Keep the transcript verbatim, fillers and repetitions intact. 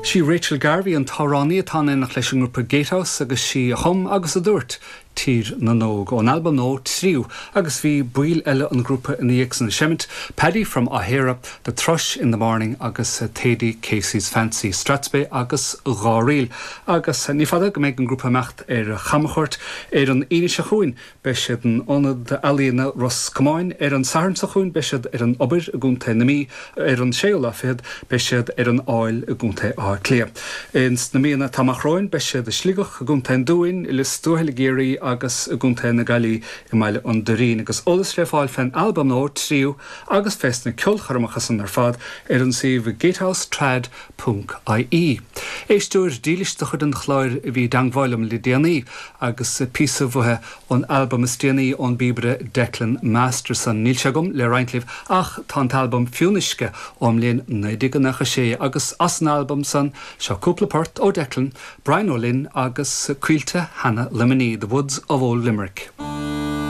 Sí Rachel Garvey an t-amhránaí atá in éineacht leis an ngrúpa Gatehouse agus sí a chum agus a dúirt Tír na nÓg ón albam nua Tríú agus bhí baill eile an grúpa ina dhiaidh san ag seimint, Paddy from Ahera, The Thrush in the Morning agus Thady Casey's Fancy Strathspey agus Dhá Ríl. Agus ní fada go mbeidh an grúpa ag imeacht ar chamchuairt ar an Aoine seo chugainn beidh siad in Ionad Ealaíon Ros Comáin ar an Satharn seo chugainn beidh siad ar an Obair i gContae na Mí ar an séú lá fichead beidh siad ar an Aill i gContae Átha Cliath. Ins na míonna atá amach romhainn beidh siad i Sligeach i gContae an Dúin, i Lios Tuathail i gCiarraí agus i gContae na Gaillimhe i mBaile an Doirín agus eolas le fáil fén albam nua Tríú agus fés na ceolchoirmeacha san ar fad ar an suíomh gatehousetrad ponc IE. Éisteoir dílis de chuid an chláir a bhí i dteagmháil liom le déanaí agus píosa uaithi ón albam is déanaí ón bpíobaire Declan Masterson. Níl sé agam le roinnt libh ach tá an t-albam Fionnuisce ón mbliain naoi déag nócha sé agus as an albam san seo cúpla port ó Declan, Brian Ó Linn agus Coillte Sheana Luimnigh, The Woods of Old Limerick.